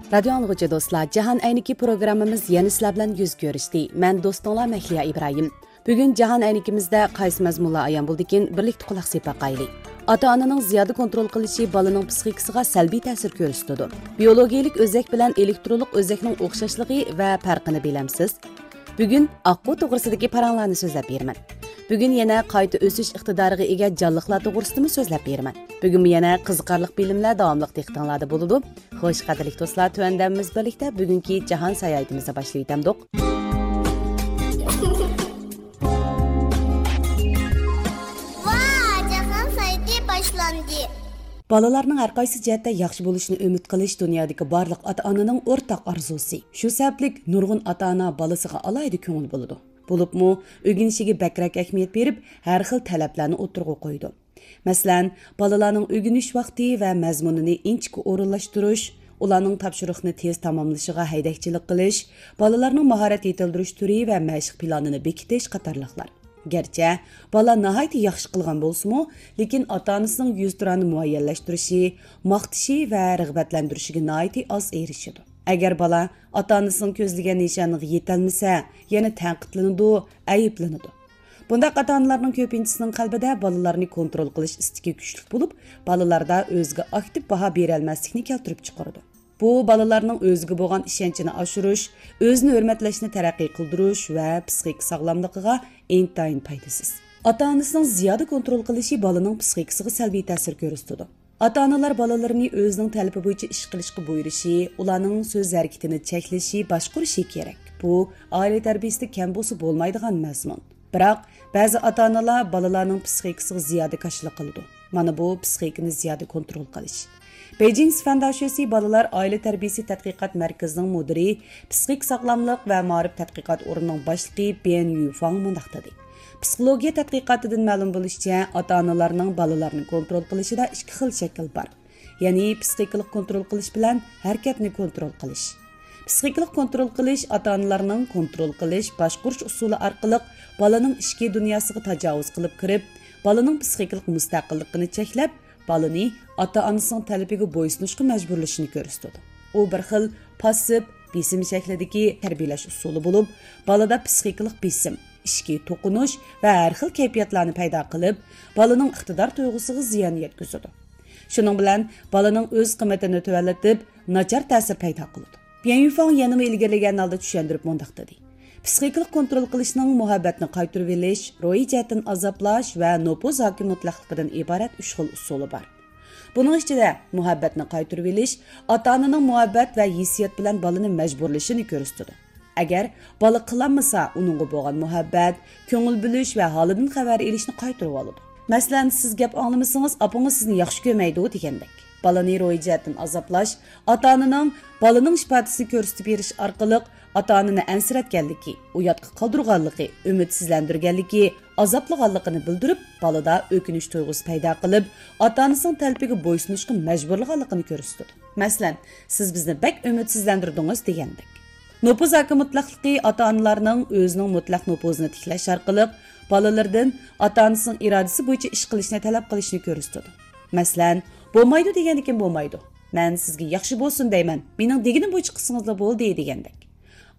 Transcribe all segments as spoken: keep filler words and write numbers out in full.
رادىيو ئاڭلىغۇچى دوستلار، جاھان ئەينىكى پروگراممىمىز يەنە سىلەر بىلەن يۈز كۆرۈشتى. مەن دوستۇڭلار مەھلىيا ئىبراھىم. بۈگۈن جاھان ئەينىكىمىزدە قايسى مەزمۇنلار ئايان بولىدىكىن، بىرلىكتە قۇلاق سېلىپ باقايلى. ئاتا-ئانىنىڭ زىيادە كونترول قىلىشى بالىنىڭ پسىخىكىسىغا سەلبىي تەسىر كۆرسىتىدۇ. بىيولوگىيىلىك ئۆزەك بىلەن ئېلېكترونلۇق ئۆزەكنىڭ ئوخشاشلىقى ۋە پەرقىنى بىلەمسىز؟ بۈگۈن ئاققۇ توغرىسىدىكى پاراڭلارنى سۆزلەپ بېرىمەن. بۈگۈن يەنە قايتا ئۆسۈش ئىقتىدارىغا ئىگە جانلىقلار توغرىسىدىمۇ سۆزلەپ بېرىمەن. بۈگۈنمۇ يەنە قىزىقارلىق بىلىملەر داۋاملىق دىققىتىڭلاردا بولىدۇ. خوش، قەدىرلىك دوستلار، تۆۋەندە بىز بىرلىكتە بۈگۈنكى جاھان ساياھىتىمىزنى باشلاۋېتەمدۇق. ۋا، جاھان ساياھىتى باشلاندى. بالىلارنىڭ ھەر قايسى جەھەتتە ياخشى بولۇشىنى ئۈمىد قىلىش دۇنيادىكى بارلىق ئاتا-ئانىنىڭ ئورتاق ئارزۇسى. شۇ سەۋەبلىك نۇرغۇن ئاتا-ئانا بالىسىغا ئالاھىدە كۆڭۈل بۆلىدۇ. بولۇپمۇ ئۆگىنىشىگە بەكرەك ئەھمىيەت بېرىپ، ھەر خىل تەلەپلەرنى ئوتتۇرىغا قويىدۇ. مەسىلەن، بالىلارنىڭ ئۆگىنىش ۋاقتى ۋە مەزمۇنىنى ئىنچىكە ئورۇنلاشتۇرۇش، ئۇلارنىڭ تاپشۇرۇقنى تېز تاماملىشىغا ھەيدەكچىلىك قىلىش، بالىلارنىڭ ماھارەت يېتىلدۈرۈش تۈرى ۋە مەشىق پىلانىنى بېكىتىش قاتارلىقلار. گەرچە بالا ناھايىتى ياخشى قىلغان بولسىمۇ، لېكىن ئاتا-ئانىسىنىڭ يۈزتۇرانە مۇئەييەنلەشتۈرۈشى، ماختىشى ۋە رىغبەتلەندۈرۈشىگە ناھايىتى ئاز ئېرىشىدۇ. ئەگەر بالا ئاتا-ئانىسىنىڭ كۆزلىگەن نىشانىغا يېتەلمىسە، يەنە تەنقىدلىنىدۇ، ئەيىبلىنىدۇ. بۇنداق ئاتا-ئانىلارنىڭ كۆپىنچىسىنىڭ قەلبىدە بالىلارنى كونترول قىلىش ئىستىكى كۈچلۈك بولۇپ، بالىلاردا ئۆزىگە ئاكتىپ باھا بېرەلمەسلىكنى كەلتۈرۈپ چىقىرىدۇ. بۇ بالىلارنىڭ ئۆزىگە بولغان ئىشەنچىنى ئاشۇرۇش، ئۆزىنى ھۆرمەتلەشنى تەرەققىي قىلدۇرۇش ۋە پسىخىكا ساغلاملىقىغا ئىنتايىن پايدىسىز. ئاتا-ئانىسىنىڭ زىيادە كونترول قىلىشى بالىنىڭ پسىخىكىسىغا سەلبىي تەسىر كۆرسىتىدۇ. ئاتا-ئانىلار بالىلىرىنى ئۆزىنىڭ تەلىپى بويىچە ئىش قىلىشقا بۇيرۇشى، ئۇلارنىڭ سۆز ھەرىكىتىنى چەكلىشى، باشقۇرۇشى كېرەك. بۇ ئائىلە تەربىيىسىدە كەم بولسا بولمايدىغان مەزمۇن. بىراق، بەزى ئاتا-ئانىلار بالىلارنىڭ پسىخىكىسىغا زىيادە كاشىلا قىلىدۇ. مانا بۇ پسىخىكىنى زىيادە كونترول قىلىش. بېيجىڭ سىفەن داشۆسى بالىلار ئائىلە تەربىيىسى تەتقىقات مەركىزىنىڭ مۇدىرى، پسىخىك ساغلاملىق ۋە مائارىپ تەتقىقات ئورنىنىڭ باشلىقى بيەن يۈفاڭ مۇنداق دېدى. پسىخولوگىيە تەتقىقاتىدىن مەلۇم بولۇشىچە، ئاتا-ئانىلارنىڭ بالىلارنى كونترول قىلىشىدا ئىككى خىل شەكىل بار. يەنى پسىخىكىلىق كونترول قىلىش بىلەن ھەرىكەتنى كونترول قىلىش. پسىخىكىلىق كونترول قىلىش ئاتا-ئانىلارنىڭ كونترول قىلىش، باشقۇرۇش ئۇسۇلى ئارقىلىق بالىنىڭ ئىچكى دۇنياسىغا تاجاۋۇز قىلىپ كىرىپ، بالىنىڭ پسىخىكىلىق مۇستەقىللىقىنى چەكلەپ، بالىنى ئاتا-ئانىسىنىڭ تەلىپىگە بويسۇنۇشقا مەجبۇرلىشىنى كۆرسىتىدۇ. ئۇ بىر خىل پاسسىپ، بېسىم شەكلىدىكى تەربىيەلەش ئۇسۇلى بولۇپ، بالىدا پسىخىكىلىق بېسىم، ئىچكى توقۇنۇش ۋە ھەر خىل كەيپىياتلارنى پەيدا قىلىپ، بالىنىڭ ئىقتىدار تۇيغۇسىغا زىيان يەتكۈزىدۇ. شۇنىڭ بىلەن بالىنىڭ ئۆز قىممىتىنى تۆۋەنلىتىپ، ناچار تەسىر پەيدا قىلىدۇ. بيەن يۈفاڭ يەنىمۇ ئىلگىرىلىگەن ھالدا چۈشەندۈرۈپ مۇنداق دېدى: پسىخىكىلىق كونترول قىلىشنىڭ مۇھەببەتنى قايتۇرۇۋېلىش، روھىي جەھەتتىن ئازابلاش ۋە نوپۇز ھاكىم مۇتلەقلىقىدىن ئىبارەت ئۈچ خىل ئۇسۇلى بار. بۇنىڭ ئىچىدە مۇھەببەتنى قايتۇرۇۋېلىش ئاتا-ئانىنىڭ مۇھەببەت ۋە ھېسسىيات بىلەن بالىنى مەجبۇرلىشىنى كۆرسىتىدۇ. ئەگەر بالا قىلالمىسا، ئۇنىڭغا بولغان مۇھەببەت، كۆڭۈل بۆلۈش ۋە ھالىدىن خەۋەر ئېلىشنى قايتۇرۇۋالىدۇ. مەسىلەن، سىز گەپ ئاڭلىمىسىڭىز، ئاپىڭىز سىزنى ياخشى كۆرمەيدۇ دېگەندەك. بالىنى روھىي جەھەتتىن ئازابلاش، ئاتا-ئانىنىڭ بالىنىڭ ئىپادىسىنى كۆرسىتىپ بېرىش ئارقىلىق ئاتا-ئانىنى ئەنسىرەتكەنلىكى، ئۇياتقا قالدۇرغانلىقى، ئۈمىدسىزلەندۈرگەنلىكى، ئازابلىغانلىقىنى بىلدۈرۈپ، بالىدا ئۆكۈنۈش تۇيغۇسى پەيدا قىلىپ، ئاتا-ئانىسىنىڭ تەلىپىگە بويسۇنۇشقا مەجبۇرلىغانلىقىنى كۆرسىتىدۇ. مەسىلەن، سىز بىزنى بەك ئۈمىدسىزلەندۈردىڭىز دېگەندەك. نوپۇز ھاكىم مۇتلەقلىقى ئاتا-ئانىلارنىڭ ئۆزىنىڭ مۇتلەق نوپۇزىنى تىكلەش ئارقىلىق بالىلىرىدىن ئاتا-ئانىسىنىڭ ئىرادىسى بويىچە ئىش قىلىشنى تەلەپ قىلىشىنى كۆرسىتىدۇ. مەسىلەن، بولمايدۇ دېگەندىكىن بولمايدۇ. مەن سىزگە ياخشى بولسۇن دەيمەن، مېنىڭ دېگىنىم بويىچە قىلسىڭىزلا بولدى دېگەندەك.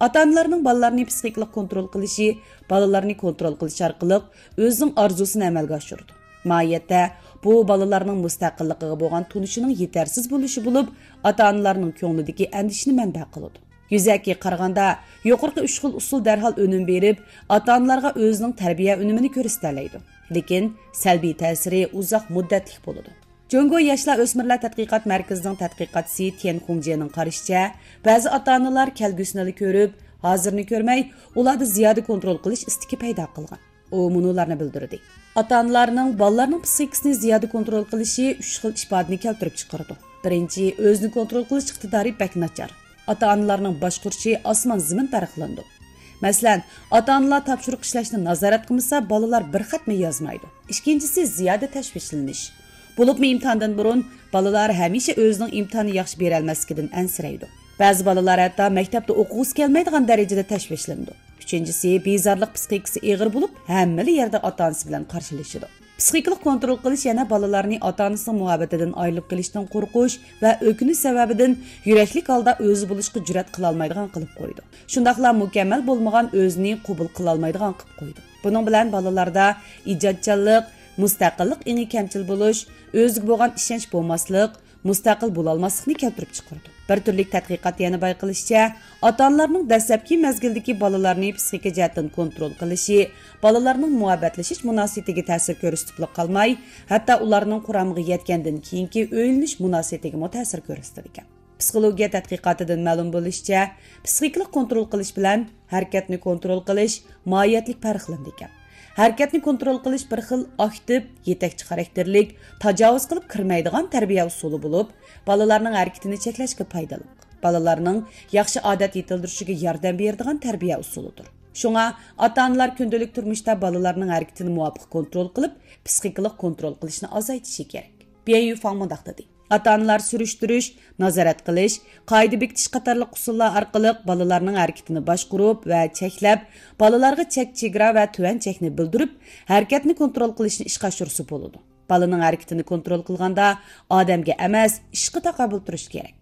ئاتا-ئانىلارنىڭ بالىلارنى پسىخىكىلىق كونترول قىلىشى، بالىلارنى كونترول قىلىش ئارقىلىق ئۆزىنىڭ ئارزۇسىنى ئەمەلگە ئاشۇرىدۇ. ماھىيەتتە، بۇ بالىلارنىڭ مۇستەقىللىقىغا بولغان تونۇشىنىڭ يېتەرسىز بولۇشى بولۇپ، ئاتا-ئانىلارنىڭ كۆڭلىدىكى ئەندىشىنى مەنبە قىلىدۇ. يۈزەكى قارىغاندا، يۇقىرىقى ئۈچ خىل ئۇسۇل دەرھال ئۈنۈم بېرىپ، ئاتا-ئانىلارغا ئۆزىنىڭ تەربىيە ئۈنۈمىنى كۆرسىتەلەيدۇ. لېكىن سەلبىي تەسىرى ئۇزاق مۇددەتلىك بولىدۇ. جۇڭگو ياشلار ئۆسمۈرلەر تەتقىقات مەركىزىنىڭ تەتقىقاتچىسى تيەن خۇڭجيېنىڭ قارىشىچە، بەزى ئاتا-ئانىلار كەلگۈسىنىلا كۆرۈپ، ھازىرنى كۆرمەي، ئۇلاردا زىيادە كونترول قىلىش ئىستىكى پەيدا قىلغان. ئۇ مۇنۇلارنى بىلدۈردى: ئاتا-ئانىلارنىڭ بالىلارنىڭ پسىخىكىسىنى زىيادە كونترول قىلىشى ئۈچ خىل ئىپادىنى كەلتۈرۈپ چىقىرىدۇ. بىرىنچى، ئۆزىنى كونترول قىلىش ئىقتىدارى بەك ناچار. ئاتا-ئانىلارنىڭ باشقۇرۇشى ئاسمان-زېمىن پەرقلىنىدۇ. مەسىلەن، ئاتا-ئانىلار تاپشۇرۇق ئىشلەشنى نازارەت قىلمىسا، بالىلار بىر خەتمۇ يازمايدۇ. ئىككىنچىسى، زىيادە تەشۋىشلىنىش. بولۇپمۇ ئىمتىھاندىن بۇرۇن بالىلار ھەمىشە ئۆزىنىڭ ئىمتىھاننى ياخشى بېرەلمەسلىكىدىن ئەنسىرەيدۇ. بەزى بالىلار ھەتتا مەكتەپتە ئوقۇغۇسى كەلمەيدىغان دەرىجىدە تەشۋىشلىنىدۇ. ئۈچىنچىسى، بىزارلىق پىسخىكىسى ئېغىر بولۇپ، ھەممىلا يەردە ئاتا-ئانىسى بىلەن قارشىلىشىدۇ. پسىخىكىلىق كونترول قىلىش يەنە بالىلارنى ئاتا-ئانىسىنىڭ مۇھەببىتىدىن ئايرىلىپ قېلىشتىن قورقۇش ۋە ئۆكۈنۈش سەۋەبىدىن يۈرەكلىك ھالدا ئۆزى بولۇشقا جۈرئەت قىلالمايدىغان قىلىپ قويىدۇ. شۇنداقلا مۇكەممەل بولمىغان ئۆزىنى قوبۇل قىلالمايدىغان قىلىپ قويىدۇ. بۇنىڭ بىلەن بالىلاردا ئىجادچانلىق، مۇستەقىللىق ئېڭى كەمچىل بولۇش، ئۆزىگە بولغان ئىشەنچ بولماسلىق، مۇستەقىل بولالماسلىقنى كەلتۈرۈپ چىقىرىدۇ. بىر تۈرلۈك تەتقىقات يەنە بايقىلىشىچە، ئاتا-ئانىلارنىڭ دەسلەپكى مەزگىلدىكى بالىلارنى پسىخىكا جەھەتتىن كونترول قىلىشى بالىلارنىڭ مۇھەببەتلىشىش مۇناسىۋىتىگە تەسىر كۆرسىتىپلا قالماي، ھەتتا ئۇلارنىڭ قۇرامىغا يەتكەندىن كېيىنكى ئۆيلىنىش مۇناسىۋىتىگىمۇ تەسىر كۆرسىتىدىكەن. پسىخولوگىيە تەتقىقاتىدىن مەلۇم بولۇشىچە، پسىخىكىلىق كونترول قىلىش بىلەن ھەرىكەتنى كونترول قىلىش ماھىيەتلىك پەرقلىنىدىكەن. ھەرىكەتنى كونترول قىلىش بىر خىل ئاكتىپ، يېتەكچى خاراكتېرلىك، تاجاۋۇز قىلىپ كىرمەيدىغان تەربىيە ئۇسۇلى بولۇپ، بالىلارنىڭ ھەرىكىتىنى چەكلەشكە پايدىلىق. بالىلارنىڭ ياخشى ئادەت يېتىلدۈرۈشىگە ياردەم بېرىدىغان تەربىيە ئۇسۇلىدۇر. شۇڭا ئاتا-ئانىلار كۈندىلىك تۇرمۇشتا بالىلارنىڭ ھەرىكىتىنى مۇۋاپىق كونترول قىلىپ، پسىخىكىلىق كونترول قىلىشنى ئازايتىشى كېرەك. بيەن يۈفاڭ مۇنداق دېدى: ئاتا-ئانىلار سۈرۈشتۈرۈش، نازارەت قىلىش، قائىدە بېكىتىش قاتارلىق ئۇسۇللار ئارقىلىق بالىلارنىڭ ھەرىكىتىنى باشقۇرۇپ ۋە چەكلەپ، بالىلارغا چەك، چېگرا ۋە تۆۋەن چەكنى بىلدۈرۈپ، ھەرىكەتنى كونترول قىلىشنى ئىشقا ئاشۇرسا بولىدۇ. بالىنىڭ ھەرىكىتىنى كونترول قىلغاندا ئادەمگە ئەمەس، ئىشقا تاقابىل تۇرۇش كېرەك.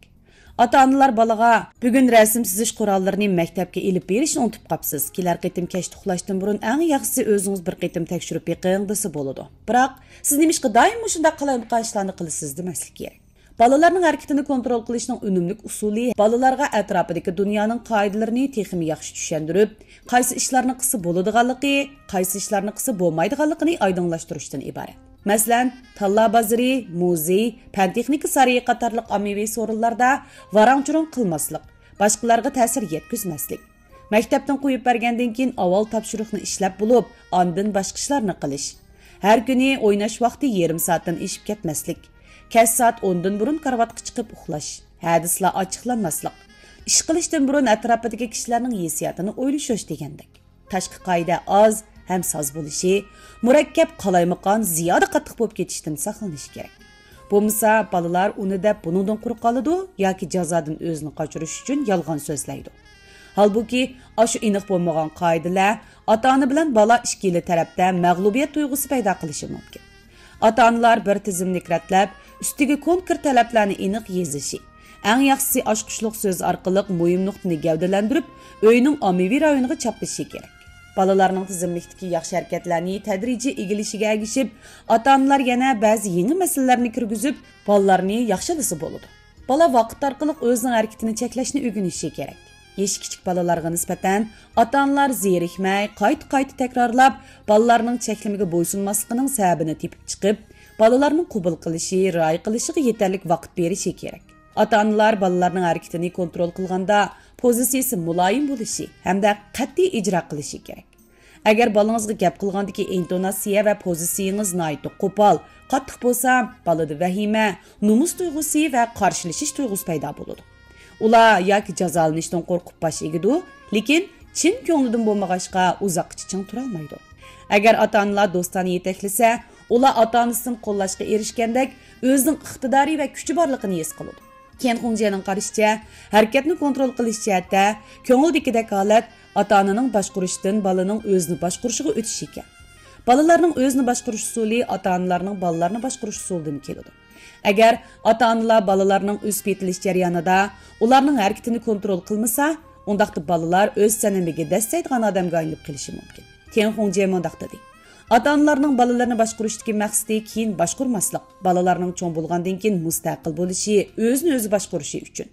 ئاتا-ئانىلار بالىغا: «بۈگۈن رەسىم سىزىش قوراللىرىنى مەكتەپكە ئېلىپ بېرىشنى ئۇنتۇپ قاپسىز. كېلەر قېتىم كەچتە ئۇخلاشتىن بۇرۇن ئەڭ ياخشىسى ئۆزىڭىز بىر قېتىم تەكشۈرۈپ بېقىڭ» دېسە بولىدۇ. بىراق، «سىز نېمىشقا دائىم مۇشۇنداق قالايمىقان ئىشلارنى قىلىسىز؟» دېمەسلىك كېرەك. بالىلارنىڭ ھەرىكىتىنى كونترول قىلىشنىڭ ئۈنۈملۈك ئۇسۇلى بالىلارغا ئەتراپىدىكى دۇنيانىڭ قائىدىلىرىنى تېخىمۇ ياخشى چۈشەندۈرۈپ، قايسى ئىشلارنى قىلسا بولىدىغانلىقى، قايسى ئىشلارنى قىلسا بولمايدىغانلىقىنى ئايدىڭلاشتۇرۇشتىن ئىبارەت. مەسىلەن، تاللا بازىرى، مۇزېي، پەن-تېخنىكا سارىيى قاتارلىق ئاممىۋى سورۇنلاردا ۋاراڭ-چۇرۇڭ قىلماسلىق، باشقىلارغا تەسىر يەتكۈزمەسلىك. مەكتەپتىن قويۇپ بەرگەندىن كېيىن ئاۋۋال تاپشۇرۇقنى ئىشلەپ بولۇپ، ئاندىن باشقا ئىشلارنى قىلىش. ھەر كۈنى ئويناش ۋاقتى يېرىم سائەتتىن ئېشىپ كەتمەسلىك. كەچ سائەت ئوندىن بۇرۇن كارىۋاتقا چىقىپ ئۇخلاش. ھەدىسلەر ئاچچىقلانماسلىق. ئىش قىلىشتىن بۇرۇن ئەتراپىدىكى كىشىلەرنىڭ ھېسسىياتىنى ئويلىشىش دېگەندەك. تاشقى قائىدە ئاز ھەم ساز بولۇشى، مۇرەككەپ، قالايمىقان، زىيادە قاتتىق بولۇپ كېتىشتىن ساقلىنىش كېرەك. بولمىسا، بالىلار ئۇنى دەپ بۇنىڭدىن قۇرۇق قالىدۇ ياكى جازادىن ئۆزىنى قاچۇرۇش ئۈچۈن يالغان سۆزلەيدۇ. ھالبۇكى، ئاشۇ ئېنىق بولمىغان قائىدىلەر ئاتا-ئانا بىلەن بالا ئىككىلا تەرەپتە مەغلۇبىيەت تۇيغۇسى پەيدا قىلىشى مۇمكىن. ئاتا-ئانىلار بىر تىزىملىك رەتلەپ، ئۈستىگە كونكرېت تەلەپلەرنى ئېنىق يېزىشى، ئەڭ ياخشىسى ئاچقۇچلۇق سۆز ئارقىلىق مۇھىم نۇقتىنى گەۋدىلەندۈرۈپ، ئۆينىڭ ئاممىۋى رايونىغا چاپلىشى كېرەك. بالىلارنىڭ تىزىملىكتىكى ياخشى ھەرىكەتلەرنى تەدرىجىي ئىگىلىشىگە ئەگىشىپ، ئاتا-ئانىلار يەنە بەزى يېڭى مەسىلىلەرنى كىرگۈزۈپ، بالىلارنى ياخشىلىسا بولىدۇ. بالا ۋاقىت ئارقىلىق ئۆزىنىڭ ھەرىكىتىنى چەكلەشنى ئۆگىنىشى كېرەك. يېشى كىچىك بالىلارغا نىسبەتەن ئاتا-ئانىلار زېرىكمەي، قايتا-قايتا تەكرارلاپ، بالىلارنىڭ چەكلىمىگە بويسۇنماسلىقىنىڭ سەۋەبىنى تېپىپ چىقىپ، بالىلارنىڭ قوبۇل قىلىشى، رىئايە قىلىشىغا يېتەرلىك ۋاقىت بېرىشى كېرەك. ئاتا-ئانىلار بالىلارنىڭ ھەرىكىتىنى كونترول قىلغاندا، پوزىتسىيىسى مۇلايىم بولۇشى ھەمدە قەتئىي ئىجرا قىلىشى كېرەك. ئەگەر بالىڭىزغا گەپ قىلغاندىكى ئىنتوناتسىيە ۋە پوزىتسىيىڭىز ناھايىتى قوپال، قاتتىق بولسا، بالىدا ۋەھىمە، نومۇس تۇيغۇسى ۋە قارشىلىشىش تۇيغۇسى پەيدا بولىدۇ. ئۇلار ياكى جازالىنىشتىن قورقۇپ باش ئېگىدۇ، لېكىن چىن كۆڭلىدىن بولمىغاچقا، ئۇزاققىچە چىڭ تۇرالمايدۇ. ئەگەر ئاتا-ئانىلار دوستانە يېتەكلىسە، ئۇلار ئاتا-ئانىسىدىن قوللاشقا ئېرىشكەندەك ئۆزىنىڭ ئىقتىدارى ۋە كۈچى بارلىقىنى ھېس قىلىدۇ. كېن خۇڭجيەنىڭ قارىشىچە، ھەرىكەتنى كونترول قىلىش جەھەتتە كۆڭۈلدىكىدەك ھالەت ئاتا-ئانىنىڭ باشقۇرۇشىدىن بالىنىڭ ئۆزىنى باشقۇرۇشىغا ئۆتۈش ئىكەن. بالىلارنىڭ ئۆزىنى باشقۇرۇش ئۇسۇلى ئاتا-ئانىلارنىڭ بالىلارنى باشقۇرۇش ئۇسۇلىدىن كېلىدۇ. ئەگەر ئاتا-ئانىلار بالىلارنىڭ ئۆسۈپ يېتىلىش جەريانىدا ئۇلارنىڭ ھەرىكىتىنى كونترول قىلمىسا، ئۇنداقتا بالىلار ئۆز سەنىمىگە دەسسەيدىغان ئادەمگە ئايلىنىپ قېلىشى مۇمكىن. تيەن خۇڭجيې مۇنداق دېدى: «ئاتا-ئانىلارنىڭ بالىلىرىنى باشقۇرۇشتىكى مەقسىتى كېيىن باشقۇرماسلىق، بالىلارنىڭ چوڭ بولغاندىن كېيىن مۇستەقىل بولۇشى، ئۆزىنى ئۆزى باشقۇرۇشى ئۈچۈن.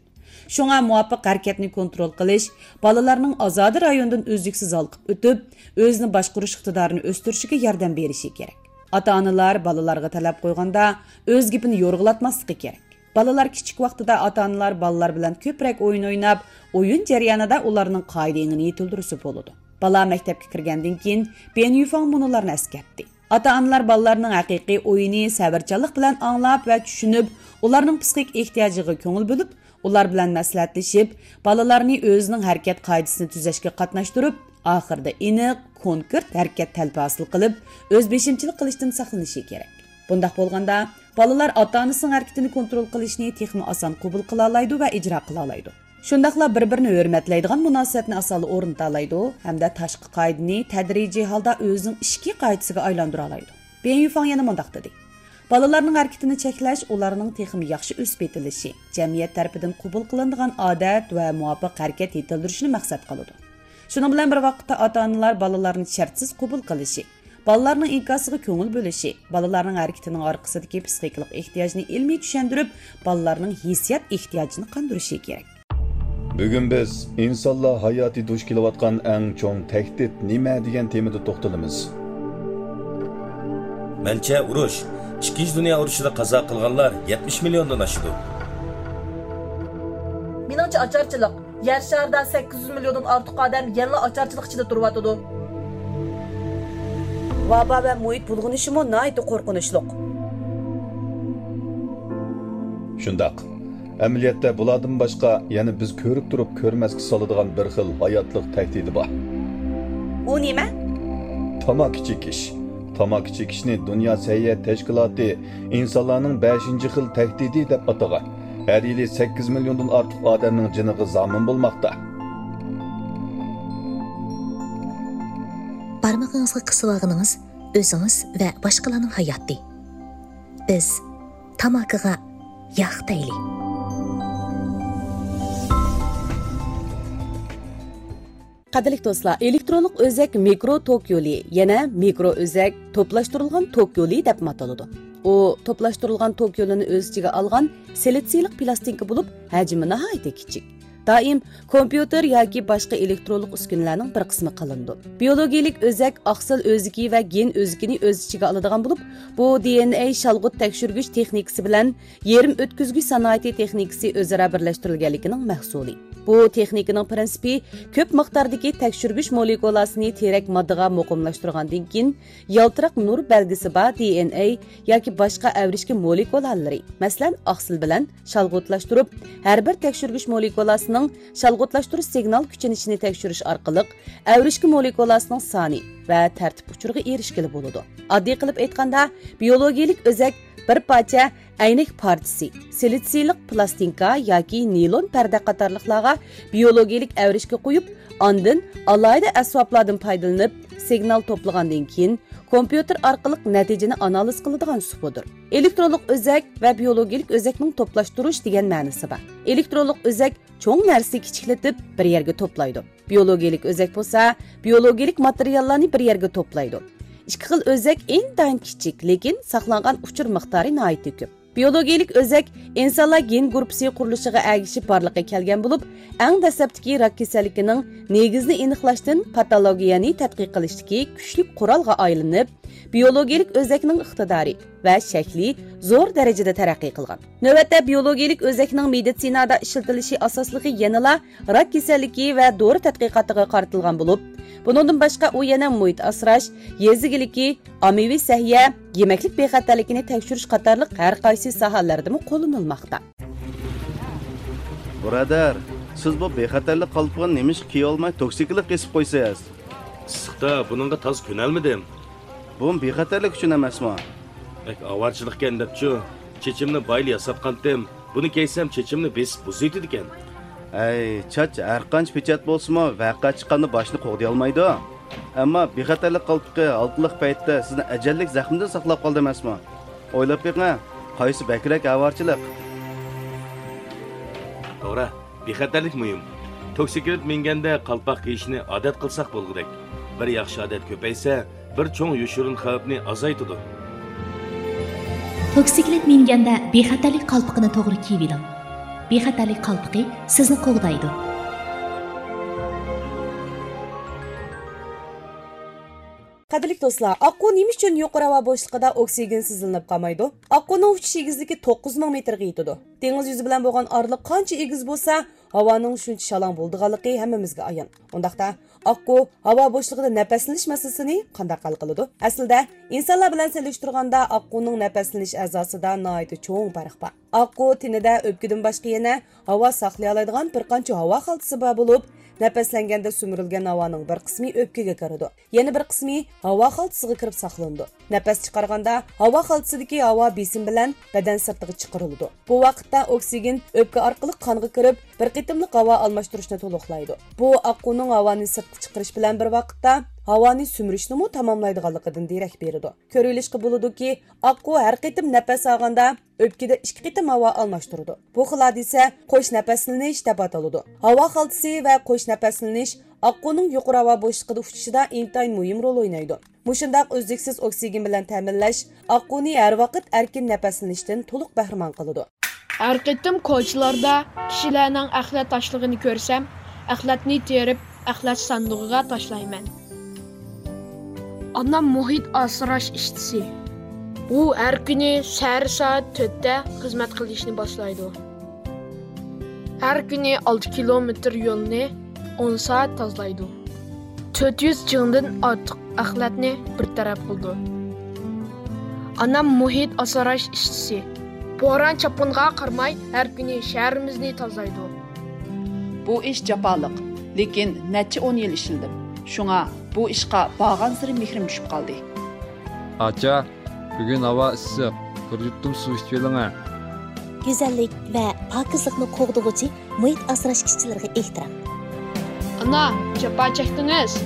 شۇڭا مۇۋاپىق ھەرىكەتنى كونترول قىلىش، بالىلارنىڭ ئازادە رايونىدىن ئۈزلۈكسىز ھالقىپ ئۆتۈپ، ئۆزىنى باشقۇرۇش ئىقتىدارىنى ئۆستۈرۈشىگە ياردەم بېرىشى كېرەك. ئاتا-ئانىلار بالىلارغا تەلەپ قويغاندا، ئۆز گېپىنى يورغىلاتماسلىقى كېرەك. بالىلار كىچىك ۋاقتىدا ئاتا-ئانىلار بالىلار بىلەن كۆپرەك ئويۇن ئويناپ، ئويۇن جەريانىدا ئۇلارنىڭ قائىدە-ئېڭىنى يېتىلدۈرسە بولىدۇ.» بالا مەكتەپكە كىرگەندىن كېيىن، بيەن يۈفاڭ مۇنۇلارنى ئەسكەرتتى: «ئاتا-ئانىلار بالىلارنىڭ ھەقىقىي ئويىنى سەۋرچانلىق بىلەن ئاڭلاپ ۋە چۈشىنىپ، ئۇلارنىڭ پسىخىك ئېھتىياجىغا كۆڭۈل بۆلۈپ، ئۇلار بىلەن مەسلىھەتلىشىپ، بالىلارنى ئۆزىنىڭ ھەرىكەت قائىدىسىنى تۈزەشكە قاتناشتۇرۇپ، ئاخىرىدا ئېنىق، كونكرېت ھەرىكەت تەلىپى ھاسىل قىلىپ، ئۆز بېشىمچىلىق قىلىشتىن ساقلىنىشى كېرەك. بۇنداق بولغاندا، بالىلار ئاتا-ئانىسىنىڭ ھەرىكىتىنى كونترول قىلىشنى تېخىمۇ ئاسان قوبۇل قىلالايدۇ ۋە ئىجرا قىلالايدۇ. شۇنداقلا بىر-بىرىنى ھۆرمەتلەيدىغان مۇناسىۋەتنى ئاسانلا ئورنىتالايدۇ ھەمدە تاشقى قائىدىنى تەدرىجىي ھالدا ئۆزىنىڭ ئىچكى قائىدىسىگە ئايلاندۇرالايدۇ. بېن يۈفاڭ يەنە مۇنداق دېدى: بالىلارنىڭ ھەرىكىتىنى چەكلەش ئۇلارنىڭ تېخىمۇ ياخشى ئۆسۈپ يېتىلىشى، جەمئىيەت تەرىپىدىن قوبۇل قىلىنىدىغان ئادەت ۋە مۇۋاپىق ھەرىكەت يېتىلدۈرۈشىنى مەقسەت قىلىدۇ. شۇنىڭ بىلەن بىر ۋاقىتتا، ئاتا-ئانىلار بالىلارنى شەرتسىز قوبۇل قىلىشى، بالىلارنىڭ ئىنكاسىغا كۆڭۈل بۆلۈشى، بالىلارنىڭ ھەرىكىتىنىڭ ئارقىسىدىكى پسىخىكىلىق ئېھتىياجنى ئىلمىي چۈشەندۈرۈپ، بالىلارنىڭ ھېسسىيات ئېھتىياجىنى قاندۇرۇشى كېرەك. بۈگۈن بىز ئىنسانلار ھاياتى دۇچ كېلىۋاتقان ئەڭ چوڭ تەھدىت نېمە دېگەن تېمىدا توختىلىمىز. مەنچە، ئۇرۇش. ئىككىنچى دۇنيا ئۇرۇشىدا قازا قىلغانلار يەتمىش مىليوندىن ئاشىدۇ. مېنىڭچە، ئاچارچىلىق. يەر شارىدا سەككىز يۈز مىليوندىن ئارتۇق ئادەم يەنىلا ئاچارچىلىق ئىچىدە تۇرۇۋاتىدۇ. ۋابا ۋە مۇھىت بۇلغىنىشىمۇ ناھايىتى قورقۇنچلۇق. شۇنداق. ئەمەلىيەتتە بۇلاردىن باشقا يەنە بىز كۆرۈپ تۇرۇپ كۆرمەسكە سالىدىغان بىر خىل ھاياتلىق تەھدىتى بار. ئۇ نېمە؟ تاماكا چېكىش. تاماكا چېكىشنى دۇنيا سەھىيە تەشكىلاتى ئىنسانلارنىڭ بەشىنچى خىل تەھدىتى دەپ ئاتىغان. ھەر يىلى سەككىز مىليوندىن ئارتۇق ئادەمنىڭ جېنىغا زامىن بولماقتا. بارمىقىڭىزغا قىسىۋالغىنىڭىز ئۆزىڭىز ۋە باشقىلارنىڭ ھاياتى. بىز تاماكىغا ياق دەيلى. قەدىرلىك دوستلار، ئېلېكترونلۇق ئۆزەك مىكرو توك يولى، يەنە مىكرو ئۆزەك توپلاشتۇرۇلغان توك يولى دەپمۇ ئاتىلىدۇ. ئۇ توپلاشتۇرۇلغان توك يولىنى ئۆز ئىچىگە ئالغان سىلىتسىيلىق پىلاستىنكا بولۇپ، ھەجمى ناھايىتى كىچىك. دائىم كومپيۇتېر ياكى باشقا ئېلېكترونلۇق ئۈسكۈنىلەرنىڭ بىر قىسمى قىلىنىدۇ. بىيولوگىيىلىك ئۆزەك ئاقسىل ئۆزىكى ۋە گېن ئۆزىكىنى ئۆز ئىچىگە ئالىدىغان بولۇپ، بۇ دى ئېن ئەي شالغۇت تەكشۈرگۈچ تېخنىكىسى بىلەن يېرىم ئۆتكۈزگۈچ سانائىتى تېخنىكىسى ئۆزئارا بىرلەشتۈرۈلگەنلىكىنىڭ مەھسۇلى. بۇ تېخنىكىنىڭ پىرىنسىپى كۆپ مىقداردىكى تەكشۈرگۈچ مولېكۇلاسىنى تىرەك ماددىغا مۇقىملاشتۇرغاندىن كېيىن، يالتىراق نۇر بەلگىسى بار دى ئېن ئەي ياكى باشقا ئەۋرىشكە مولېكۇلالىرى، مەسىلەن، ئاقسىل بىلەن شالغۇتلاشتۇرۇپ، ھەر بىر تەكشۈرگۈچ مولېكۇلاسىنىڭ شالغۇتلاشتۇرۇش سىگنال كۈچىنىشىنى تەكشۈرۈش ئارقىلىق، ئەۋرىشكە مولېكۇلاسىنىڭ سانى ۋە تەرتىپ ئۇچۇرىغا ئېرىشكىلى بولىدۇ. ئاددىي قىلىپ ئېيتقاندا، بىيولوگىيىلىك ئۆزەك بىر پارچە ئەينەك پارچىسى، سىلىتسىيلىق پىلاستىنكا ياكى نىلون پەردە قاتارلىقلارغا بىيولوگىيىلىك ئەۋرىشكە قويۇپ، ئاندىن ئالاھىدە ئەسۋابلاردىن پايدىلىنىپ، سىگنال توپلىغاندىن كېيىن، كومپيۇتېر ئارقىلىق نەتىجىنى ئانالىز قىلىدىغان ئۇسۇلدۇر. ئېلېكترونلۇق ئۆزەك ۋە بىيولوگىيىلىك ئۆزەكنىڭ توپلاشتۇرۇش دېگەن مەنىسى بار. ئېلېكترونلۇق ئۆزەك چوڭ نەرسىنى كىچىكلىتىپ بىر يەرگە توپلايدۇ. بىيولوگىيىلىك ئۆزەك بولسا بىيولوگىيىلىك ماتېرىياللارنى بىر يەرگە توپلايدۇ. ئىككى خىل ئۆزەك ئىنتايىن كىچىك، لېكىن ساقلانغان ئۇچۇر مىقدارى ناھايىتى كۆپ. بىيولوگىيىلىك ئۆزەك ئىنسانلار گېن گۇرۇپپىسى قۇرۇلۇشىغا ئەگىشىپ بارلىققا كەلگەن بولۇپ، ئەڭ دەسلەپتىكى راك كېسەللىكىنىڭ نېگىزىنى ئېنىقلاشتىن پاتولوگىيەنى تەتقىق قىلىشتىكى كۈچلۈك قورالغا ئايلىنىپ، بىيولوگىيىلىك ئۆزەكنىڭ ئىقتىدارى ۋە شەكلى زور دەرىجىدە تەرەققىي قىلغان. نۆۋەتتە بىيولوگىيىلىك ئۆزەكنىڭ مېدىتسىنادا ئىشلىتىلىشى ئاساسلىقى يەنىلا راك كېسەللىكى ۋە دورا تەتقىقاتىغا قارىتىلغان بولۇپ، بۇنىڭدىن باشقا ئۇ يەنە مۇھىت ئاسراش، يېزا ئىگىلىكى، ئاممىۋى سەھىيە، يېمەكلىك بىخەتەرلىكىنى تەكشۈرۈش قاتارلىق ھەر قايسى ساھەلەردىمۇ قوللىنىلماقتا. بۇرادەر، سىز بۇ بىخەتەرلىك قالپىقىنى نېمىشقا كىيىۋالماي توكسىكلىق كېسىپ قويىسىز؟ ئىسسىقتا بۇنىڭغا تازا كۆنەلمىدىم. بۇمۇ بىخەتەرلىك ئۈچۈن ئەمەسمۇ؟ بەك ئاۋارىچىلىقكەن دەپچۇ، چېچىمنى بايىلا ياساتقانتىم. بۇنى كىيسەم چېچىمنى بېسىپ بۇزۇۋېتىدىكەن. ئەي، چاچ ھەرقانچە پېچەت بولسىمۇ، ۋەقە چىققاندا باشنى قوغدىيالمايدۇ. ئەمما بىخەتەرلىك قالپىقى ھالقىلىق پەيتتە سىزنى ئەجەللىك زەخمىدىن ساقلاپ قالدى ئەمەسمۇ؟ ئويلاپ بېقىڭ، قايسى بەكرەك ئاۋارىچىلىق؟ توغرا، بىخەتەرلىك مۇھىم. توكسىكلىت مىنگەندە قالپاق كىيىشنى ئادەت قىلساق بولغۇدەك. بىر ياخشى ئادەت كۆپەيسە، بىر چوڭ يوشۇرۇن خەۋپنى ئازايتىدۇ. توكسىكلىت مىنگەندە بىخەتەرلىك قالپىقىنى توغرا كىيىۋېلىڭ. بىخەتەرلىك قالپىقى سىزنى قوغدايدۇ. قەدىرلىك دوستلار، ئاققۇ نېمە ئۈچۈن يۇقىرى ھاۋا بوشلۇقىدا ئوكسىگېن سىزلىنىپ قالمايدۇ؟ ئاققۇنىڭ ئۇچۇش ئېگىزلىكى توققۇز مىڭ مېتىرغا يېتىدۇ. دېڭىز يۈزى بىلەن بولغان ئارىلىق قانچە ئېگىز بولسا، ھاۋانىڭ شۇنچە شالاڭ بولىدىغانلىقى ھەممىمىزگە ئايان. ئۇنداقتا، ئاققۇ ھاۋا بوشلۇقىدا نەپەسلىنىش مەسىلىسىنى قانداق ھەل قىلىدۇ؟ ئەسلىدە، ئىنسانلار بىلەن سېلىشتۇرغاندا، ئاققۇنىڭ نەپەسلىنىش ئەزاسىدا ناھايىتى چوڭ پەرق بار. ئاققۇ تېنىدە ئۆپكىدىن باشقا يەنە ھاۋا ساقلىيالايدىغان بىر قانچە ھاۋا خالتىسى بار بولۇپ، نەپەسلەنگەندە سۈمۈرۈلگەن ھاۋانىڭ بىر قىسمى ئۆپكىگە كىرىدۇ، يەنە بىر قىسمى ھاۋا خالتىسىغا كىرىپ ساقلىنىدۇ. نەپەس چىقارغاندا ھاۋا خالتىسىدىكى ھاۋا بېسىم بىلەن بەدەن سىرتىغا چىقىرىلىدۇ. بۇ ۋاقىتتا ئوكسىگېن ئۆپكە ئارقىلىق قانغا كىرىپ، بىر قېتىملىق ھاۋا ئالماشتۇرۇشنى تولۇقلايدۇ. بۇ ئاققۇنىڭ ھاۋانى سىرتقا چىقىرىش بىلەن بىر ۋاقىتتا ھاۋانى سۈمۈرۈشنىمۇ تاماملايدىغانلىقىدىن دېرەك بېرىدۇ. كۆرۈۋېلىشقا بولىدۇكى، ئاققۇ ھەر قېتىم نەپەس ئالغاندا ئۆپكىدە ئىككى قېتىم ھاۋا ئالماشتۇرىدۇ. بۇ خىل ھادىسە قوش نەپەسلىنىش دەپ ئاتىلىدۇ. ھاۋا خالتىسى ۋە قوش نەپەسلىنىش ئاققۇنىڭ يۇقىرى ھاۋا بوشلۇقىدا ئۇچۇشىدا ئىنتايىن مۇھىم رول ئوينايدۇ. مۇشۇنداق ئۈزلۈكسىز ئوكسىگېن بىلەن تەمىنلەش ئاققۇنى ھەر ۋاقىت ئەركىن نەپەسلىنىشتىن تولۇق بەھرىمەن قىلىدۇ. ھەر قېتىم كوچىلاردا كىشىلەرنىڭ ئەخلەت تاشلىغىنى كۆرسەم، ئەخلەتنى تېرىپ، ئەخلەت ساندۇقىغا تاشلايمەن. ئانام مۇھىت ئاسراش ئىشچىسى. ئۇ ھەر كۈنى سەھەر سائەت تۆتتە خىزمەت قىلىشنى باشلايدۇ. ھەر كۈنى ئالتە كىلومېتىر يولنى ئون سائەت تازىلايدۇ. تۆت يۈز چىڭدىن ئارتۇق ئەخلەتنى بىر تەرەپ قىلىدۇ. ئانام مۇھىت ئاسراش ئىشچىسى. بوران-چاپقۇنغا قارىماي، ھەر كۈنى شەھىرىمىزنى تازىلايدۇ. بۇ ئىش جاپالىق، لېكىن نەچچە ئون يىل ئىشلىدىم. شۇڭا بۇ ئىشقا بارغانسېرى مېھرىم چۈشۈپ قالدى. ئاچا، بۈگۈن ھاۋا ئىسسىق، بىر يۇتۇم سۇ ئىچىۋېلىڭە. گۈزەللىك ۋە پاكىزلىقنى قوغدىغۇچى مۇھىت ئاسراش ئىشچىلىرىغا ئېھتىرام. ئانا، جاپا چەكتىڭىز.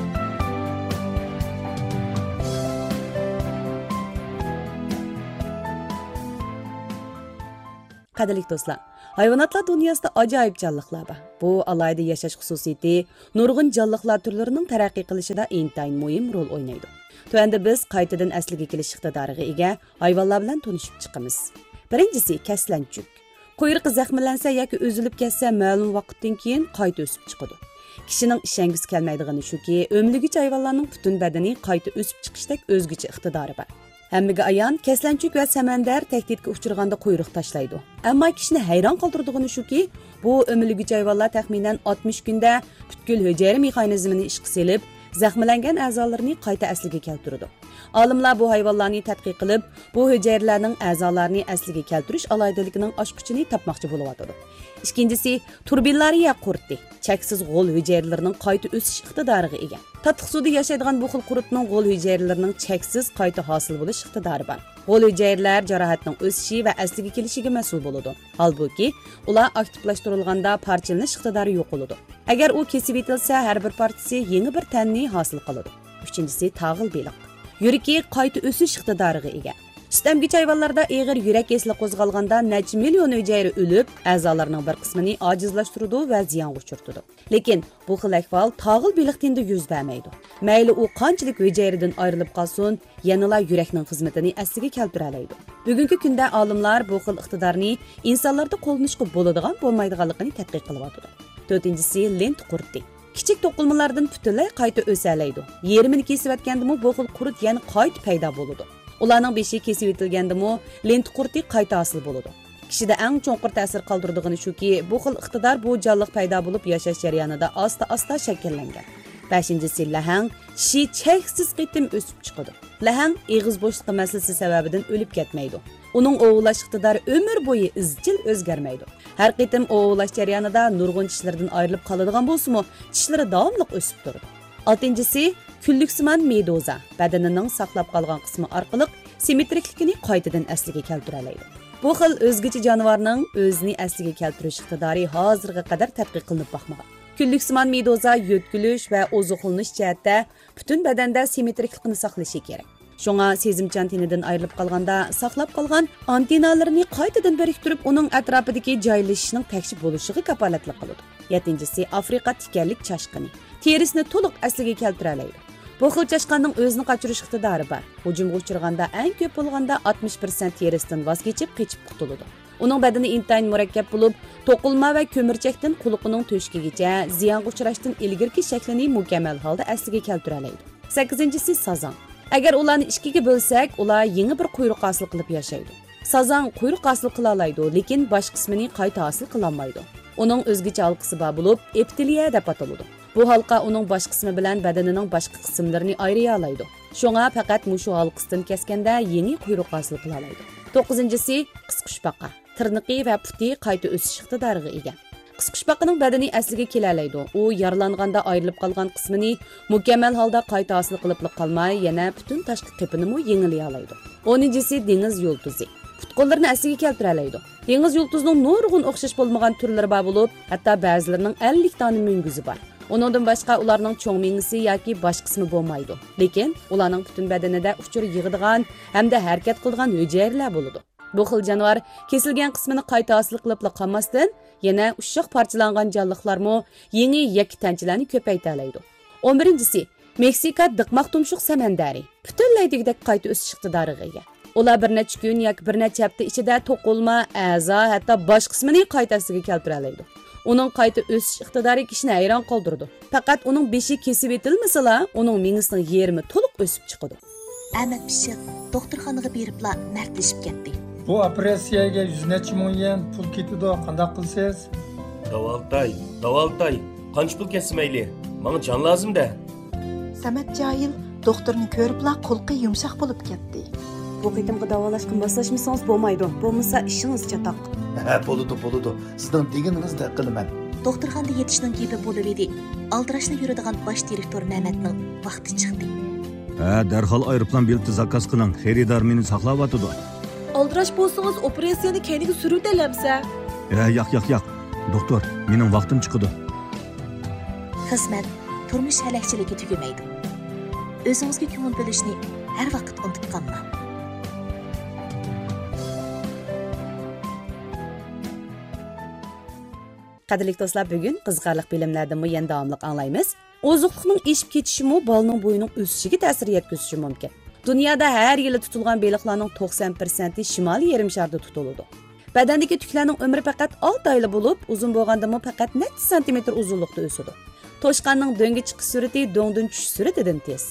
قەدىرلىك دوستلار، ھايۋاناتلار دۇنياسىدا ئاجايىپ جانلىقلار بار. بۇ ئالاھىدە ياشاش خۇسۇسىيىتى نۇرغۇن جانلىقلار تۈرلىرىنىڭ تەرەققىي قىلىشىدا ئىنتايىن مۇھىم رول ئوينايدۇ. تۆۋەندە بىز قايتىدىن ئەسلىگە كېلىش ئىقتىدارىغا ئىگە ھايۋانلار بىلەن تونۇشۇپ چىقىمىز. بىرىنچىسى، كەسلەنچۈك. قۇيرۇقى زەخىملەنسە ياكى ئۈزۈلۈپ كەتسە، مەلۇم ۋاقىتتىن كېيىن قايتا ئۆسۈپ چىقىدۇ. كىشىنىڭ ئىشەنگۈسى كەلمەيدىغىنى شۇكى، ئۆمىلىگۈچى ھايۋانلارنىڭ پۈتۈن بەدىنى قايتا ئۆسۈپ چىقىشتەك ئۆزگىچە ئىقتىدارى بار. ھەممىگە ئايان، كەسلەنچۈك ۋە سەمەندەر تەھدىتكە ئۇچرىغاندا قۇيرۇق تاشلايدۇ. ئەمما كىشىنى ھەيران قالدۇرىدىغىنى شۇكى، بۇ ئۆمىلىگۈچى ھايۋانلار تەخمىنەن ئاتمىش كۈندە پۈتكۈل ھۈجەيرە مېخانىزمىنى ئىشقا سېلىپ، زەخىملەنگەن ئەزالىرىنى قايتا ئەسلىگە كەلتۈرىدۇ. ئالىملار بۇ ھايۋانلارنى تەتقىق قىلىپ، بۇ ھۈجەيرىلەرنىڭ ئەزالارنى ئەسلىگە كەلتۈرۈش ئالاھىدىلىكىنىڭ ئاچقۇچىنى تاپماقچى بولۇۋاتىدۇ. ئىككىنچىسى، تۇربىللارىيە قۇرتى. چەكسىز غول ھۈجەيرىلىرىنىڭ قايتا ئۆسۈش ئىقتىدارىغا ئىگە. تاتلىق سۇدا ياشايدىغان بۇ خىل قۇرتنىڭ غول ھۈجەيرىلىرىنىڭ چەكسىز قايتا ھاسىل بولۇش ئىقتىدارى بار. غول ھۈجەيرىلەر جاراھەتنىڭ ئۆسۈشى ۋە ئەسلىگە كېلىشىگە مەسئۇل بولىدۇ. ھالبۇكى، ئۇلار ئاكتىپلاشتۇرۇلغاندا پارچىلىنىش ئىقتىدارى يوقىلىدۇ. ئەگەر ئۇ كېسىۋېتىلسە، ھەر بىر پارچىسى يېڭى بىر تەننى ھاسىل قىلىدۇ. ئۈچىنچىسى، تاغىل بېلىق. يۈرىكى قايتا ئۆسۈش ئىقتىدارىغا ئىگە. سۈت ئەمگۈچى ھايۋانلاردا ئېغىر يۈرەك كېسىلى قوزغالغاندا نەچچە مىليون ھۈجەيرە ئۆلۈپ، ئەزالارنىڭ بىر قىسمىنى ئاجىزلاشتۇرىدۇ ۋە زىيانغا ئۇچرىتىدۇ. لېكىن بۇ خىل ئەھۋال تاغىل بېلىقتىندا يۈز بەرمەيدۇ. مەيلى ئۇ قانچىلىك ھۈجەيرىدىن ئايرىلىپ قالسۇن، يەنىلا يۈرەكنىڭ خىزمىتىنى ئەسلىگە كەلتۈرەلەيدۇ. بۈگۈنكى كۈندە ئالىملار بۇ خىل ئىقتىدارنى ئىنسانلاردا قوللىنىشقا بولىدىغان بولمايدىغانلىقىنى تەتقىق قىلىۋاتىدۇ. تۆتىنچىسى، لېنت قۇرتى. كىچىك توقۇلمىلاردىن پۈتۈنلەي قايتا ئۆسەلەيدۇ. يېرىمىنى كېسىۋەتكەندىمۇ بۇ خىل قۇرت يەنە قايتا پەيدا بولىدۇ. ئۇلارنىڭ بېشى كېسىۋېتىلگەندىمۇ لېنت قۇرتى قايتا ھاسىل بولىدۇ. كىشىدە ئەڭ چوڭقۇر تەسىر قالدۇرىدىغىنى شۇكى، بۇ خىل ئىقتىدار بۇ جانلىق پەيدا بولۇپ ياشاش جەريانىدا ئاستا-ئاستا شەكىللەنگەن. بەشىنچىسى، لەھەڭ. چىشى چەكسىز قېتىم ئۆسۈپ چىقىدۇ. لەھەڭ ئېغىز بوشلۇقى مەسىلىسى سەۋەبىدىن ئۆلۈپ كەتمەيدۇ. ئۇنىڭ ئوۋلاش ئىقتىدارى ئۆمۈر بويى ئىزچىل ئۆزگەرمەيدۇ. ھەر قېتىم ئوۋلاش جەريانىدا نۇرغۇن چىشلىرىدىن ئايرىلىپ قالىدىغان بولسىمۇ، چىشلىرى داۋاملىق ئۆسۈپ تۇرىدۇ. ئالتىنچىسى، كۈنلۈكسىمان مېدۇزا بەدىنىنىڭ ساقلاپ قالغان قىسمى ئارقىلىق سىممېترىكلىكىنى قايتىدىن ئەسلىگە كەلتۈرەلەيدۇ. بۇ خىل ئۆزگىچە جانىۋارنىڭ ئۆزىنى ئەسلىگە كەلتۈرۈش ئىقتىدارى ھازىرغا قەدەر تەتقىق قىلىنىپ باقمىغان. كۈنلۈكسىمان مېدۇزا يۆتكىلىش ۋە ئوزۇقلىنىش جەھەتتە پۈتۈن بەدەندە سىممېترىكلىقنى ساقلىشى كېرەك. شۇڭا سېزىمچان تېنىدىن ئايرىلىپ قالغاندا ساقلاپ قالغان ئانتېننالىرىنى قايتىدىن بىرىكتۈرۈپ، ئۇنىڭ ئەتراپىدىكى جايلىشىشنىڭ تەكشى بولۇشىغا كاپالەتلىك قىلىدۇ. يەتتىنچىسى، ئافرىقا تىكەنلىك چاشقىنى. تېرىسىنى تولۇق ئەسلىگە كەلتۈرەلەيدۇ. بۇ خىل چاشقاننىڭ ئۆزىنى قاچۇرۇش ئىقتىدارى بار. ھۇجۇمغا ئۇچرىغاندا ئەڭ كۆپ بولغاندا ئاتمىش پىرسەنت تېرىسىدىن ۋاز كېچىپ، قېچىپ قۇتۇلىدۇ. ئۇنىڭ بەدىنى ئىنتايىن مۇرەككەپ بولۇپ، توقۇلما ۋە كۆمۈرچەكتىن قۇلىقىنىڭ تۆشۈكىگىچە زىيانغا ئۇچراشتىن ئىلگىرىكى شەكلىنى مۇكەممەل ھالدا ئەسلىگە كەلتۈرەلەيدۇ. سەككىزىنچىسى، سازاڭ. ئەگەر ئۇلارنى ئىككىگە بۆلسەك، ئۇلار يېڭى بىر قۇيرۇق ھاسىل قىلىپ ياشايدۇ. سازاڭ قۇيرۇق ھاسىل قىلالايدۇ، لېكىن باش قىسمىنى قايتا ھاسىل قىلالمايدۇ. ئۇنىڭ ئۆزگىچە ھالقىسى بار بولۇپ، ئېپتېلىيە دەپ ئاتىلىدۇ. بۇ ھالقا ئۇنىڭ باش قىسمى بىلەن بەدىنىنىڭ باشقا قىسىملىرىنى ئايرىيالايدۇ. شۇڭا پەقەت مۇشۇ ھالقىسىدىن كەسكەندە يېڭى قۇيرۇق ھاسىل قىلالايدۇ. توققۇزىنچىسى، قىسقۇچپاقا. تىرنىقى ۋە پۇتى قايتا ئۆسۈش ئىقتىدارىغا ئىگە. قىسقۇچپاقىنىڭ بەدىنى ئەسلىگە كېلەلەيدۇ. ئۇ يارىلانغاندا ئايرىلىپ قالغان قىسمىنى مۇكەممەل ھالدا قايتا ھاسىل قىلىپلا قالماي، يەنە پۈتۈن تاشقى قېپىنىمۇ يېڭىلىيالايدۇ. ئونىنچىسى، دېڭىز يۇلتۇزى. پۇت-قوللىرىنى ئەسلىگە كەلتۈرەلەيدۇ. دېڭىز يۇلتۇزىنىڭ نۇرغۇن ئوخشاش بولمىغان تۈرلىرى بار بولۇپ، ھەتتا بەزىلىرىنىڭ ئەللىك دانە مۈڭگۈزى بار. ئۇنىڭدىن باشقا ئۇلارنىڭ چوڭ مېڭىسى ياكى باش قىسمى بولمايدۇ. لېكىن ئۇلارنىڭ پۈتۈن بەدىنىدە ئۇچۇر يىغىدىغان ھەمدە ھەرىكەت قىلىدىغان ھۈجەيرىلەر بولىدۇ. بۇ خىل جانىۋار كېسىلگەن قىسمىنى قايتا ھاسىل قىلىپلا قالماستىن، يەنە ئۇششاق پارچىلانغان جانلىقلارمۇ يېڭى يەككە تەنچىلەرنى كۆپەيتەلەيدۇ. ئون بىرىنچىسى، مېكسىكا دىقماق تۇمشۇق سەمەندەرى. پۈتۈنلەي دېگۈدەك قايتا ئۆسۈش ئىقتىدارىغا ئىگە. ئۇلار بىر نەچچە كۈن ياكى بىر نەچچە ھەپتە ئىچىدە توقۇلما، ئەزا، ھەتتا باش قىسمىنى قايتا ئەسلىگە كەلتۈرەلەيدۇ. ئۇنىڭ قايتا ئۆسۈش ئىقتىدارى كىشىنى ھەيران قالدۇرىدۇ. پەقەت ئۇنىڭ بېشى كېسىۋېتىلمىسىلا، ئۇنىڭ مېڭىسىنىڭ يېرىمى تولۇق ئۆسۈپ چىقىدۇ. ئەمەت پىششىق دوختۇرخانىغا بېرىپلا مەردلىشىپ كەتتى. بۇ ئوپېراتسىيەگە يۈز نەچچە مىڭ يۈەن پۇل كېتىدۇ، قانداق قىلىسىز؟ داۋالىتاي، داۋالىتاي، قانچە پۇل كەتسە مەيلى، ماڭا جان لازىم-دە. سەمەت جاھىل دوختۇرنى كۆرۈپلا قۇلىقى يۇمشاق بولۇپ كەتتى. بۇ قېتىمقى داۋالاشقا ماسلاشمىسىڭىز بولمايدۇ، بولمىسا ئىشىڭىز چاتاق. ھە، بولىدۇ، بولىدۇ، سىزنىڭ دېگىنىڭىزدەك قىلىمەن. دوختۇرخانىدا يېتىشنىڭ گېپى بولۇۋىدى. ئالدىراشلا يۈرىدىغان باش دىرېكتور مەمەتنىڭ ۋاقتى چىقتى. ھە، دەرھال ئايروپىلان بېلىتى زاكاز قىلىڭ، خېرىدار مېنى ساقلاۋاتىدۇ. ئالدىراش بولسىڭىز، ئوپېراتسىيەنى كەينىگە سۈرۈۋېتەلەمسە؟ ھە، ياق، ياق، ياق. دوختۇر، مېنىڭ ۋاقتىم چىقىدۇ. خىزمەت، تۇرمۇش ھەلەكچىلىكى تۈگىمەيدۇ. ئۆزىڭىزگە كۆڭۈل بۆلۈشنى ھەر ۋاقىت ئۇنتۇپ قالماڭ. قەدىرلىك دوستلار، بۈگۈن قىزىقارلىق بىلىملەردىنمۇ يەنە داۋاملىق ئاڭلايمىز. ئوزۇقلۇقنىڭ ئېشىپ كېتىشىمۇ بالىنىڭ بويىنىڭ ئۆسۈشىگە تەسىر يەتكۈزۈشى مۇمكىن. دۇنيادا ھەر يىلى تۇتۇلغان بېلىقلارنىڭ توقسان پىرسەنتى شىمالىي يېرىم شاردا تۇتۇلىدۇ. بەدەندىكى تۈكلەرنىڭ ئۆمرى پەقەت ئالتە ئايلا بولۇپ، ئۇزۇن بولغاندىمۇ پەقەت نەچچە سانتىمېتىر ئۇزۇنلۇقتا ئۆسىدۇ. توشقاننىڭ دۆڭگە چىقىش سۈرئىتى دۆڭدىن چۈشۈش سۈرئىتىدىن تېز.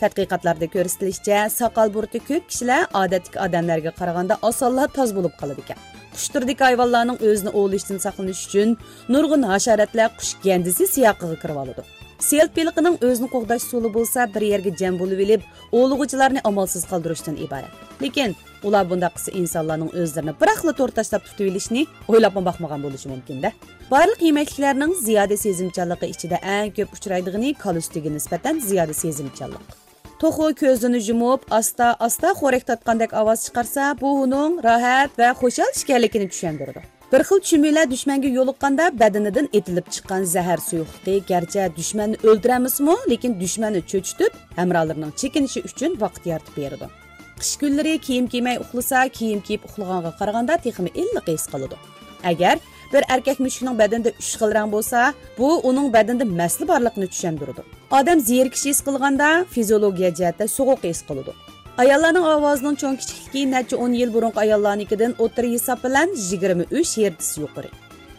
تەتقىقاتلاردا كۆرسىتىلىشىچە، ساقال بۇرۇتى كۆپ كىشىلەر ئادەتتىكى ئادەملەرگە قارىغاندا ئاسانلا تاز بولۇپ قالىدىكەن. قۇش تۈرىدىكى ھايۋانلارنىڭ ئۆزىنى ئوۋلىشىشتىن ساقلىنىش ئۈچۈن نۇرغۇن ھاشاراتلار قۇش گەندىسى سىياقىغا كىرىۋالىدۇ. سېلىت بېلىقىنىڭ ئۆزىنى قوغداش ئۇسۇلى بولسا بىر يەرگە جەم بولۇۋېلىپ، ئوۋلىغۇچىلارنى ئامالسىز قالدۇرۇشتىن ئىبارەت. لېكىن ئۇلار بۇنداق قىلسا ئىنسانلارنىڭ ئۆزلىرىنى بىراقلا تور تاشلاپ تۇتۇۋېلىشنى ئويلاپمۇ باقمىغان بولۇشى مۇمكىن-دە. بارلىق يېمەكلىكلەرنىڭ زىيادە سېزىمچانلىقى ئىچىدە ئەڭ كۆپ ئۇچرايدىغىنى كالا سۈتىگە نىسبەتەن زىيادە سېزىمچانلىق. توخۇ كۆزىنى يۇمۇپ، ئاستا-ئاستا خورەك تارتقاندەك ئاۋاز چىقارسا، بۇ ئۇنىڭ راھەت ۋە خۇشال ئىكەنلىكىنى چۈشەندۈرىدۇ. بىر خىل چۈمۈلە دۈشمەنگە يولۇققاندا، بەدىنىدىن ئېتىلىپ چىققان زەھەر سۇيۇقلۇقى گەرچە دۈشمەننى ئۆلتۈرەلمىسىمۇ، لېكىن دۈشمەننى چۆچۈتۈپ، ھەمراھلىرىنىڭ چېكىنىشى ئۈچۈن ۋاقىت يارىتىپ بېرىدۇ. قىش كۈنلىرى كىيىم كىيمەي ئۇخلىسا، كىيىم كىيىپ ئۇخلىغانغا قارىغاندا تېخىمۇ ئىللىق ھېس قىلىدۇ. ئەگەر بىر ئەركەك مۈشۈكنىڭ بەدىنىدە ئۈچ خىل رەڭ بولسا، بۇ ئۇنىڭ بەدىنىدە مەسىلە بارلىقىنى چۈشەندۈرىدۇ. ئادەم زېرىكىش ھېس قىلغاندا، فىزىيولوگىيە جەھەتتە سوغۇق ھېس قىلىدۇ. ئاياللارنىڭ ئاۋازىنىڭ چوڭ كىچىكلىكى نەچچە ئون يىل بۇرۇنقى ئاياللارنىڭكىدىن ئوتتۇرا ھېساب بىلەن يىگىرمە ئۈچ ھېرتس يۇقىرى.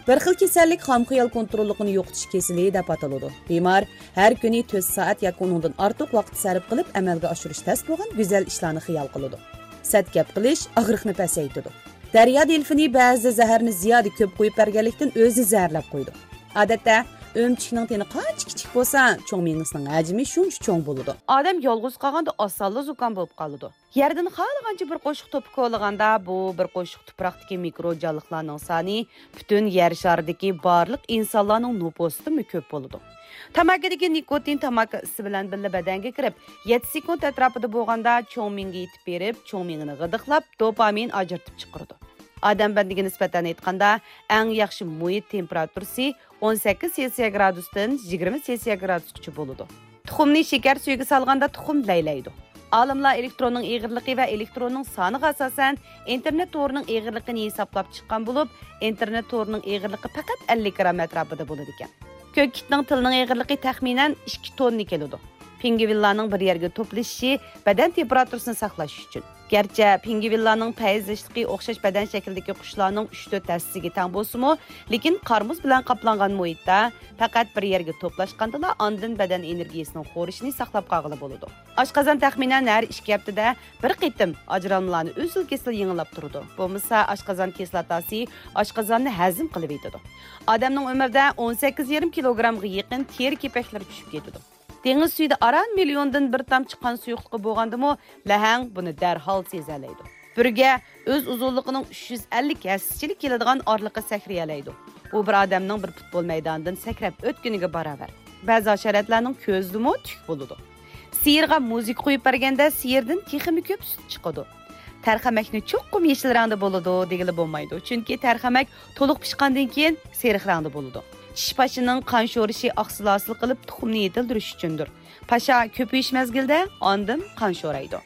بىر خىل كېسەللىك خام خىيال كونتروللۇقىنى يوقىتىش كېسىلى دەپ ئاتىلىدۇ. بىمار ھەر كۈنى تۆت سائەت ياكى ئۇنىڭدىن ئارتۇق ۋاقىت سەرپ قىلىپ، ئەمەلگە ئاشۇرۇش تەس بولغان گۈزەل ئىشلارنى خىيال قىلىدۇ. سەت گەپ قىلىش ئاغرىقنى پەسەيتىدۇ. دەريا دېلفىنى بەزىدە زەھەرنى زىيادە كۆپ قۇيۇپ بەرگەنلىكتىن ئۆزىنى زەھەرلەپ قويىدۇ. ئادەتتە ئۆمۈچۈكنىڭ تېنى قانچە كىچىك بولسا، چوڭ مېڭىسىنىڭ ھەجمى شۇنچە چوڭ بولىدۇ. ئادەم يالغۇز قالغاندا ئاسانلا زۇكام بولۇپ قالىدۇ. يەردىن خالىغانچە بىر قوشۇق توپا كولىغاندا، بۇ بىر قوشۇق تۇپراقتىكى مىكرو جانلىقلارنىڭ سانى پۈتۈن يەر شارىدىكى بارلىق ئىنسانلارنىڭ نوپۇسىدىنمۇ كۆپ بولىدۇ. تاماكىدىكى نىكوتىن تاماكا ئىسسى بىلەن بىللە بەدەنگە كىرىپ، يەتتە سېكۇنت ئەتراپىدا بولغاندا چوڭ مېڭىگە يېتىپ بېرىپ، چوڭ مېڭىنى غىدىقلاپ، دوپامىن ئاجرىتىپ چىقىرىدۇ. ئادەم بەدىنىگە نىسبەتەن ئېيتقاندا، ئەڭ ياخشى مۇھىت تېمپېراتۇرىسى ئون سەككىز سېلسىيە گرادۇستىن يىگىرمە سېلسىيە گرادۇسقىچە بولىدۇ. تۇخۇمنى شېكەر سۈيىگە سالغاندا تۇخۇم لەيلەيدۇ. ئالىملار ئېلېكتروننىڭ ئېغىرلىقى ۋە ئېلېكتروننىڭ سانىغا ئاساسەن ئىنتېرنېت تورىنىڭ ئېغىرلىقىنى ھېسابلاپ چىققان بولۇپ، ئىنتېرنېت تورىنىڭ ئېغىرلىقى پەقەت ئەللىك گرام ئەتراپىدا بولىدىكەن. كۆك كىتنىڭ تىلىنىڭ ئېغىرلىقى تەخمىنەن ئىككى توننا كېلىدۇ. پىڭگۋىنلارنىڭ بىر يەرگە توپلىشىشى بەدەن تېمپېراتۇرىسىنى ساقلاش ئۈچۈن. گەرچە پىڭگۋىنلارنىڭ پەيزىشلىقى ئوخشاش بەدەن شەكلىدىكى قۇشلارنىڭ ئۈچ تۆت ھەسسىسىگە تەڭ بولسىمۇ، لېكىن قار-مۇز بىلەن قاپلانغان مۇھىتتا پەقەت بىر يەرگە توپلاشقاندىلا ئاندىن بەدەن ئېنېرگىيىسىنىڭ خورىشىنى ساقلاپ قالغىلى بولىدۇ. ئاشقازان تەخمىنەن ھەر ئىككى ھەپتىدە بىر قېتىم ئاجرالمىلارنى ئۈزۈل-كېسىل يېڭىلاپ تۇرىدۇ. بولمىسا ئاشقازان كىسلاتاسى ئاشقازاننى ھەزىم قىلىۋېتىدۇ. ئادەمنىڭ ئۆمرىدە ئون سەككىز يېرىم كىلوگرامغا يېقىن تېرە كېپەكلىرى چۈشۈپ كېتىدۇ. دېڭىز سۈيىدە ئاران مىليوندىن بىر تامچە قان سۇيۇقلۇقى بولغاندىمۇ، لەھەڭ بۇنى دەرھال سېزەلەيدۇ. بۈرگە ئۆز ئۇزۇنلۇقىنىڭ ئۈچ يۈز ئەللىك ھەسسىچىلىك كېلىدىغان ئارىلىققا سەكرىيەلەيدۇ. بۇ بىر ئادەمنىڭ بىر پۇتبول مەيدانىدىن سەكرەپ ئۆتكىنىگە باراۋەر. بەزى ھاشاراتلارنىڭ كۆزىدىمۇ تۈك بولىدۇ. سىيىرغا مۇزىكا قويۇپ بەرگەندە، سىيىردىن تېخىمۇ كۆپ سۈت چىقىدۇ. تەرخەمەكنى چوقۇم يېشىل رەڭدە بولىدۇ دېگىلى بولمايدۇ، چۈنكى تەرخەمەك تولۇق پىشقاندىن كېيىن سېرىق رەڭدە بولىدۇ. چىشى پاشىنىڭ قان شورىشى ئاقسىل ھاسىل قىلىپ، تۇخۇمنى يېتىلدۈرۈش ئۈچۈندۇر. پاشا كۆپىيىش مەزگىلىدە ئاندىن قان شورايدۇ.